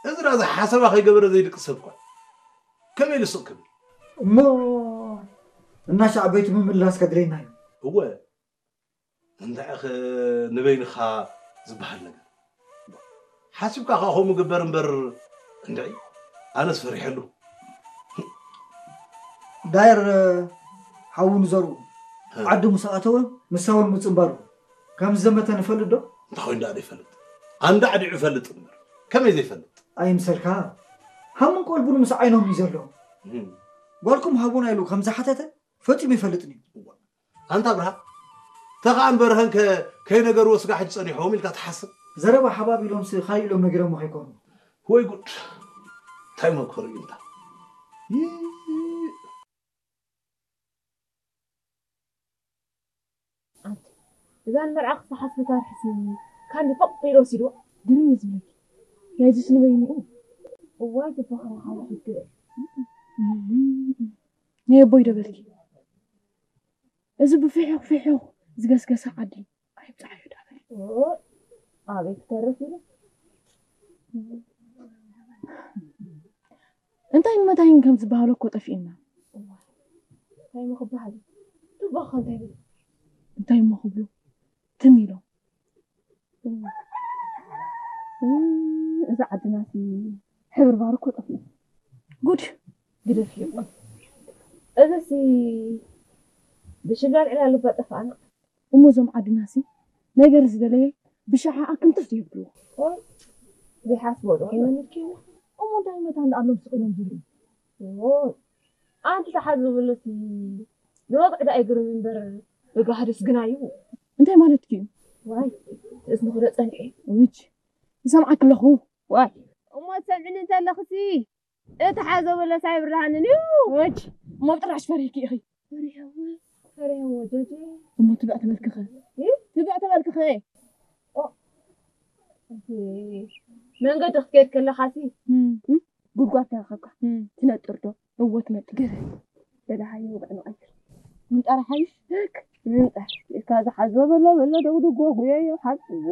እዚ ራዛ ሓሰባ ከይገበረ ዘይድቅስ ሰብ እኳ ከመይ ኢሉ ስቕ ክብል? እሞ እናሻዕ ቤቱ ምምላስ ከድለየና እዩ። እወ፣ እንታይኸ ንበይንኻ ዝበሃል ነገር ሓሲብካ ከኣ ከምኡ ግበር እምበር፣ እንድዒ ኣነስ ፈሪሐሉ። ዳየር ሓዉ ንዘርኡ ሀ። ዓዲ ምስ ኣተወ ምሳውን ምጽንባሩ ከም ዝዘመተ ንፈልጥ ዶ? እንታይ ኮይኑ ደኣ ዘይፈልጥ? ኣንዳ ዓዲዑ ይፈልጥ እምበር ከመይ ዘይፈልጥ? ኣይምሰልካ። ሃሙን ቆልቡን ምስ ዓይኖም እዩ ዘሎ። እም። ጓልኩም ሃቡና ኢሉ ከም ዝሓተተ ፈጺሙ ይፈልጥን እዩ። ኣንታ ኣብርሃ፣ ተኸኣን በርሀን ከ ከይነገርዎ ስጋ ሕጂ ጸኒሖም ኢልካ ትሓስብ? ዘረባ ሓባብ ኢሎምሲ ካልእ ኢሎም ነጊሮሞ ከይኮኑ። ወይ ጉድ! እንታይ መከሩ እዩ እንታ? ይእ! ኣንቲ፣ እዛ ንመርዓ ክሰሓስበታ ርሕስኒ፣ ካንዲ ፈቕ ኢሉ ወሲድዋ። ግርም እዩ ዝብለኪ። ናይዚስ ንበይኑ እዩ። እዋይ፣ ግባኻ መኻሪ ሕግእ። ናይ ኣቦይ ዶ በልኪ? እዚ ብፍሑኽ ፍሑኽ ዝገስገሰ ዓዲ ኣይብጽሓዮ ዳ በል። ኦ፣ ኣበይ ክተርፍ ኢሉ? እንታይን መታይን ከም ዝበሃሎ እኮ ጠፊእና። እንታይ እሞ ክበሃል እዩ? ዱባኻ እንታይ ይብል? እንታይ እሞ ክብሉ? ትም ኢሎም። እዛ ዓድናሲ ሕብርባር እኮ ጠፊኡ። ጉድ! ግደፍዮ። እዚሲ ብሽላል ዕላል እባ ጠፋእና። እሞ እዞም ዓድናሲ ነገር ዝደለየ ብሸሓ ኣክንትፍ የብልዎ። ኦይ፣ ዘይሓስቦ ዶ ኮይኖም ይልኪ? እሞ እንታይ መታን ኣሎም ስቕ ኢሎም ዝርእዩ? ኦይ፣ ኣንቲ ተሓዝብለሲ ንወግዒ ዳ ኣይግርም እምበር ብጋህድስ ግና እዩ። እንታይ ማለትኪ እዩ? ዋይ፣ ትእዝምኺ ዶ ጸኒሐ? ውጅ፣ ይሰምዓኪ ኣለኹ። ዋይ። እሞ ትሰምዕኒ እንተለኽሲ፣ እቲ ሓዞ በለስ ኣይብርሃንን እዩ። ወጅ፣ እሞ ብጥራሽ ፈሪህኪ ኢኺ። ፈሪሀዎ፣ ፈሪሀዎ፣ ጀጀ። እሞ ትብዕ ተበልክኸ? እ? ትብዕ ተበልክኸ? ኦ፣ እቲ መንገዲ ክትከይድ ከለኻሲ፣ እም። እም? ጉድጓድ ተረኸብካ። እም። ትነጥር ዶ? እወ፣ ትነጥር። ግረ። በላሃዮ፣ ውግዕ ንቐይር። ምንጣር ሓይሽ? ደክ፣ ምንጣር። እካ ዝሓዞ በሎ፣ በሎ፣ ደጉድጎ፣ ጉየዮ፣ ሓጽዎ።